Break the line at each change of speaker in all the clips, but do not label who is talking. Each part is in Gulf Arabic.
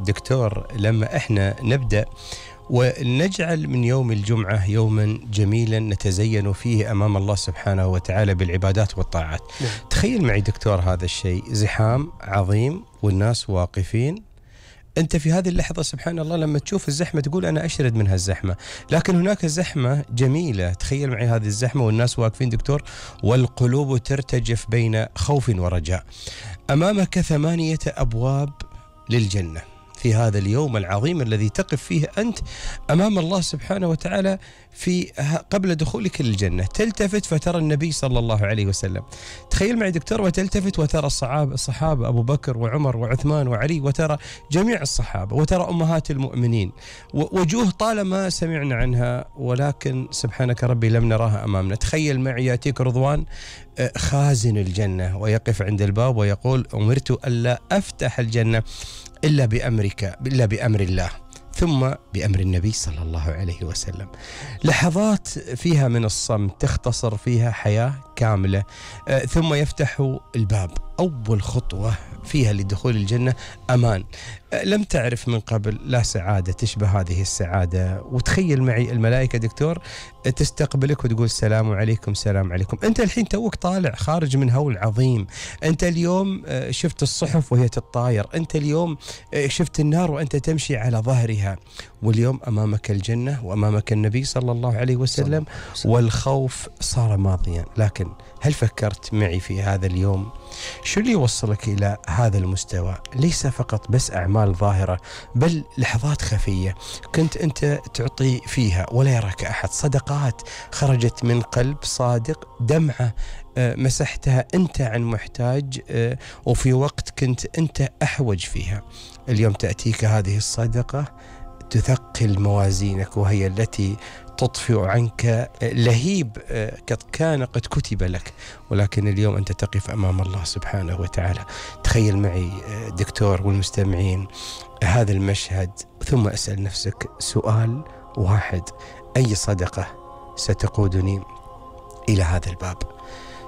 دكتور، لما احنا نبدأ ونجعل من يوم الجمعة يوما جميلا نتزين فيه أمام الله سبحانه وتعالى بالعبادات والطاعات. تخيل معي دكتور هذا الشيء، زحام عظيم والناس واقفين، أنت في هذه اللحظة سبحان الله لما تشوف الزحمة تقول أنا أشرد من هالزحمة، لكن هناك زحمة جميلة. تخيل معي هذه الزحمة والناس واقفين دكتور، والقلوب ترتجف بين خوف ورجاء. أمامك 8 أبواب للجنة في هذا اليوم العظيم الذي تقف فيه أنت أمام الله سبحانه وتعالى في قبل دخولك للجنة. تلتفت فترى النبي صلى الله عليه وسلم. تخيل معي دكتور، وتلتفت وترى الصحابة أبو بكر وعمر وعثمان وعلي، وترى جميع الصحابة، وترى أمهات المؤمنين، وجوه طالما سمعنا عنها ولكن سبحانك ربي لم نراها أمامنا. تخيل معي يأتيك رضوان خازن الجنة ويقف عند الباب ويقول أمرت ألا أفتح الجنة إلا بأمر الله، ثم بأمر النبي صلى الله عليه وسلم. لحظات فيها من الصمت تختصر فيها حياة كاملة، ثم يفتح الباب. أول خطوة فيها لدخول الجنة أمان. لم تعرف من قبل لا سعادة تشبه هذه السعادة. وتخيل معي الملائكة دكتور تستقبلك وتقول السلام عليكم السلام عليكم. أنت الحين توك طالع خارج من هول عظيم. أنت اليوم شفت الصحف وهي تتطاير. أنت اليوم شفت النار وأنت تمشي على ظهرها. واليوم أمامك الجنة وأمامك النبي صلى الله عليه وسلم، والخوف صار ماضيا. لكن هل فكرت معي في هذا اليوم شو اللي يوصلك إلى هذا المستوى؟ ليس فقط بس أعمال ظاهرة، بل لحظات خفية كنت أنت تعطي فيها ولا يراك أحد، صدقات خرجت من قلب صادق، دمعة مسحتها أنت عن محتاج، وفي وقت كنت أنت أحوج فيها. اليوم تأتيك هذه الصدقة تثقل موازينك، وهي التي تطفئ عنك لهيب كان قد كتب لك، ولكن اليوم أنت تقف أمام الله سبحانه وتعالى. تخيل معي دكتور والمستمعين هذا المشهد، ثم أسأل نفسك سؤال واحد: أي صدقة ستقودني إلى هذا الباب؟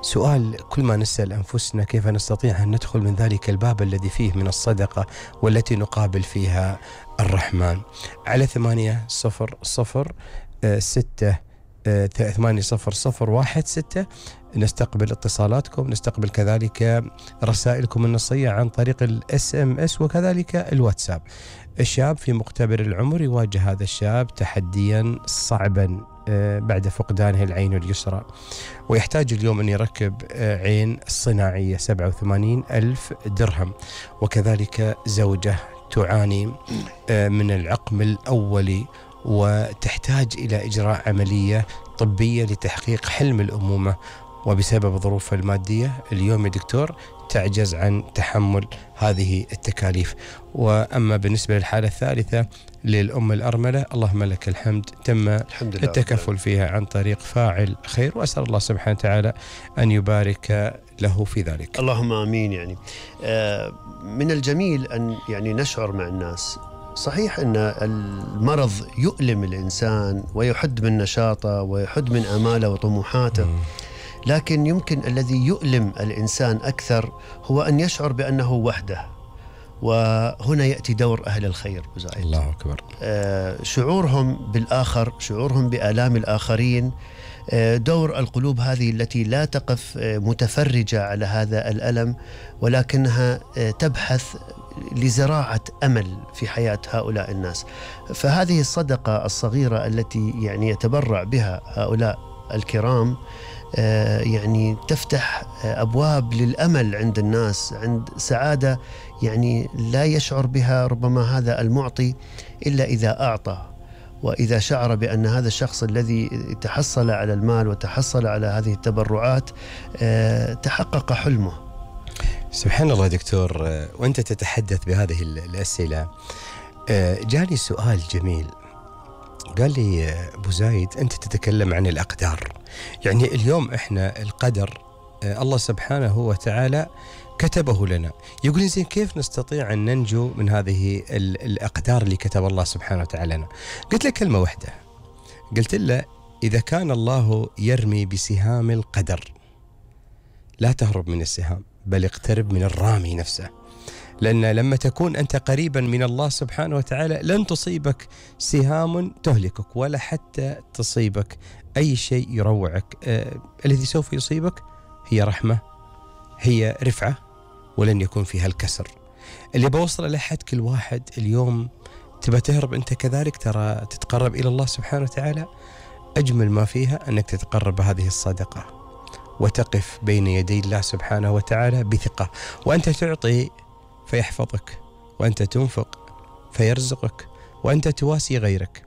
سؤال كل ما نسأل أنفسنا كيف نستطيع أن ندخل من ذلك الباب الذي فيه من الصدقة والتي نقابل فيها الرحمن. على 800-680-001-6 نستقبل اتصالاتكم، نستقبل كذلك رسائلكم النصية عن طريق SMS وكذلك الواتساب. الشاب في مقتبل العمر يواجه هذا الشاب تحديا صعبا بعد فقدانه العين اليسرى، ويحتاج اليوم أن يركب عين صناعية 87,000 درهم، وكذلك زوجة تعاني من العقم الأولي وتحتاج إلى إجراء عملية طبية لتحقيق حلم الأمومة، وبسبب ظروفها المادية اليوم يا دكتور تعجز عن تحمل هذه التكاليف. وأما بالنسبة للحالة الثالثة للأم الأرملة، اللهم لك الحمد، تم التكفل فيها عن طريق فاعل خير، وأسأل الله سبحانه وتعالى أن يبارك له في ذلك.
اللهم آمين. يعني من الجميل أن نشعر مع الناس. صحيح أن المرض يؤلم الإنسان ويحد من نشاطه ويحد من آماله وطموحاته، لكن يمكن الذي يؤلم الإنسان أكثر هو أن يشعر بأنه وحده. وهنا يأتي دور أهل الخير.
الله أكبر.
شعورهم بالآخر، شعورهم بآلام الآخرين، دور القلوب هذه التي لا تقف متفرجة على هذا الألم، ولكنها تبحث لزراعة أمل في حياة هؤلاء الناس. فهذه الصدقة الصغيرة التي يتبرع بها هؤلاء الكرام تفتح أبواب للأمل عند الناس، عند سعادة لا يشعر بها ربما هذا المعطي إلا إذا أعطى، وإذا شعر بأن هذا الشخص الذي تحصل على المال وتحصل على هذه التبرعات تحقق حلمه.
سبحان الله دكتور، وأنت تتحدث بهذه الأسئلة جاني سؤال جميل. قال لي أبو زايد أنت تتكلم عن الأقدار، اليوم إحنا القدر الله سبحانه وتعالى كتبه لنا. يقول لي زين كيف نستطيع أن ننجو من هذه الأقدار اللي كتب الله سبحانه وتعالى لنا؟ قلت له كلمة واحدة، قلت له إذا كان الله يرمي بسهام القدر لا تهرب من السهام بل اقترب من الرامي نفسه. لأن لما تكون أنت قريبا من الله سبحانه وتعالى لن تصيبك سهام تهلكك ولا حتى تصيبك أي شيء يروعك. الذي سوف يصيبك هي رحمة، هي رفعة، ولن يكون فيها الكسر. اللي بوصل لحد كل واحد اليوم تبى تهرب أنت كذلك، ترى تتقرب إلى الله سبحانه وتعالى، أجمل ما فيها أنك تتقرب بهذه الصدقة وتقف بين يدي الله سبحانه وتعالى بثقة، وأنت تعطي فيحفظك، وأنت تنفق فيرزقك، وأنت تواسي غيرك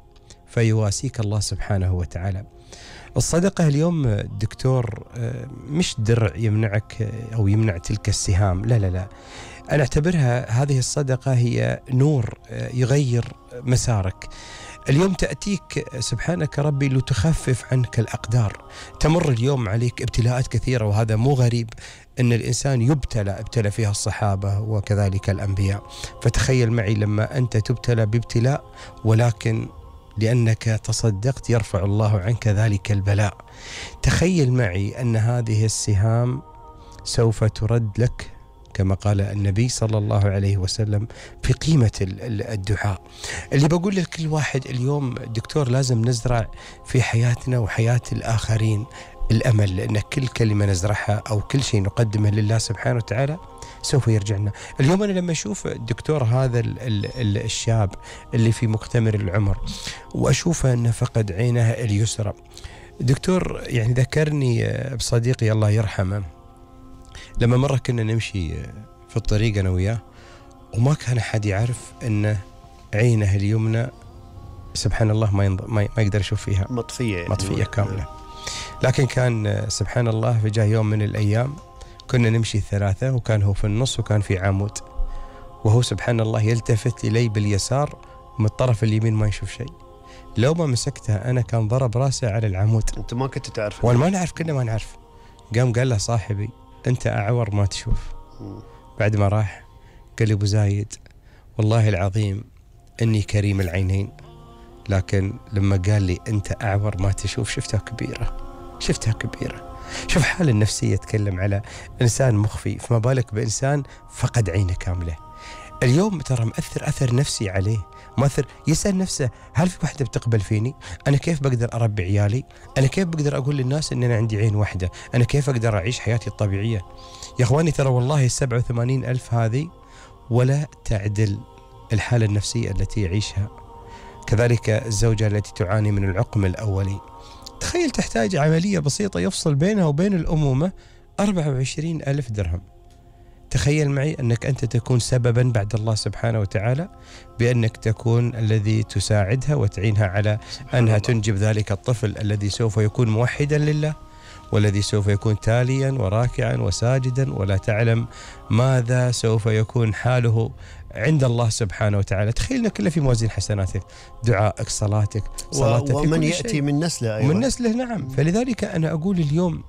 فيواسيك الله سبحانه وتعالى. الصدقة اليوم دكتور مش درع يمنعك أو يمنع تلك السهام، لا لا لا، أنا أعتبرها هذه الصدقة هي نور يغير مسارك. اليوم تأتيك سبحانك ربي لتخفف عنك الأقدار. تمر اليوم عليك ابتلاءات كثيرة، وهذا مو غريب أن الإنسان ابتلى فيها الصحابة وكذلك الأنبياء. فتخيل معي لما أنت تبتلى بابتلاء ولكن لأنك تصدقت يرفع الله عنك ذلك البلاء. تخيل معي أن هذه السهام سوف ترد لك كما قال النبي صلى الله عليه وسلم في قيمة الدعاء. اللي بقول لكل واحد اليوم دكتور لازم نزرع في حياتنا وحياة الآخرين الأمل، لأن كل كلمة نزرعها أو كل شيء نقدمه لله سبحانه وتعالى سوف يرجعنا. اليوم أنا لما أشوف الدكتور هذا الشاب اللي في مقتمر العمر وأشوفه أنه فقد عينه اليسرى، دكتور يعني ذكرني بصديقي الله يرحمه، لما مرة كنا نمشي في الطريق أنا وياه وما كان أحد يعرف أن عينه اليمنى سبحان الله ما يقدر يشوف فيها، مطفية كاملة. لكن كان سبحان الله في جاء يوم من الأيام كنا نمشي ثلاثة وكان هو في النص وكان في عمود، وهو سبحان الله يلتفت إلي باليسار من الطرف اليمين ما يشوف شيء. لو ما مسكتها أنا كان ضرب راسه على العمود.
أنت ما كنت تعرف؟
وأنا ما نعرف، كنا ما نعرف. قال له صاحبي أنت أعور ما تشوف. بعد ما راح قال لي أبو زايد والله العظيم أني كريم العينين، لكن لما قال لي أنت أعور ما تشوف شفتها كبيرة. شوف حال النفسية، تكلم على إنسان مخفي، فما بالك بإنسان فقد عينه كاملة. اليوم ترى مأثر أثر نفسي عليه، مؤثر. يسأل نفسه هل في واحدة بتقبل فيني؟ أنا كيف بقدر أربي عيالي؟ أنا كيف بقدر أقول للناس أن أنا عندي عين واحدة؟ أنا كيف أقدر أعيش حياتي الطبيعية؟ يا أخواني ترى والله 87,000 هذه ولا تعدل الحالة النفسية التي يعيشها. كذلك الزوجة التي تعاني من العقم الأولي، تخيل تحتاج عملية بسيطة يفصل بينها وبين الأمومة 24,000 درهم. تخيل معي أنك أنت تكون سببا بعد الله سبحانه وتعالى بأنك تكون الذي تساعدها وتعينها على أنها تنجب ذلك الطفل الذي سوف يكون موحدا لله، والذي سوف يكون تاليا وراكعا وساجدا، ولا تعلم ماذا سوف يكون حاله عند الله سبحانه وتعالى. تخيلنا كله في موازين حسناتك، دعائك، صلاتك
ومن يأتي من نسله. أيوة.
من نسله، نعم. فلذلك أنا أقول اليوم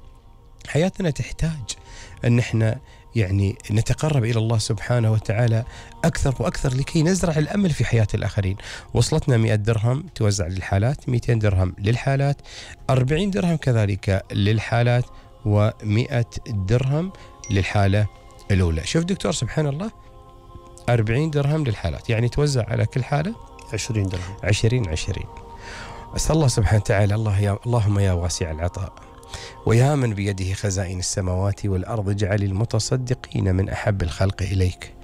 حياتنا تحتاج أن احنا يعني نتقرب إلى الله سبحانه وتعالى أكثر وأكثر لكي نزرع الأمل في حياة الآخرين. وصلتنا 100 درهم توزع للحالات، 200 درهم للحالات، 40 درهم كذلك للحالات، و100 درهم للحالة الأولى. شوف دكتور سبحان الله، 40 درهم للحالات يعني توزع على كل حالة
20 درهم.
20. أسأل الله سبحانه وتعالى اللهم يا واسع العطاء ويا من بيده خزائن السماوات والأرض اجعل المتصدقين من أحب الخلق إليك.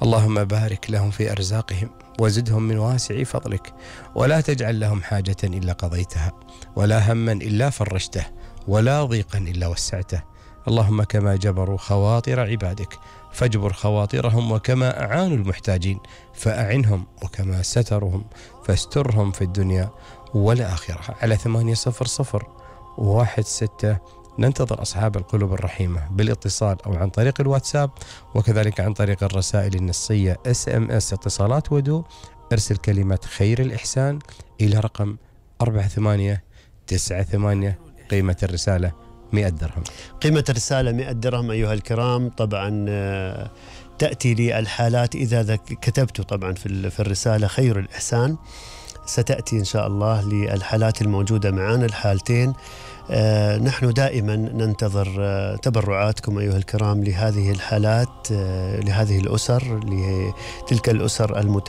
اللهم بارك لهم في أرزاقهم وزدهم من واسع فضلك، ولا تجعل لهم حاجة إلا قضيتها، ولا هما إلا فرجته، ولا ضيقا إلا وسعته. اللهم كما جبروا خواطر عبادك فاجبر خواطرهم، وكما أعانوا المحتاجين فأعنهم، وكما سترهم فاسترهم في الدنيا والآخرة. على 800-16 ننتظر أصحاب القلوب الرحيمة بالاتصال أو عن طريق الواتساب، وكذلك عن طريق الرسائل النصية SMS اتصالات ودو. ارسل كلمة خير الإحسان إلى رقم 4898. قيمة الرسالة 100 درهم.
قيمة الرسالة 100 درهم أيها الكرام. طبعا تأتي لي الحالات إذا كتبت طبعا في الرسالة خير الإحسان ستأتي إن شاء الله للحالات الموجودة معنا الحالتين. نحن دائما ننتظر تبرعاتكم أيها الكرام لهذه الحالات، لهذه الأسر، لتلك الأسر المتعددة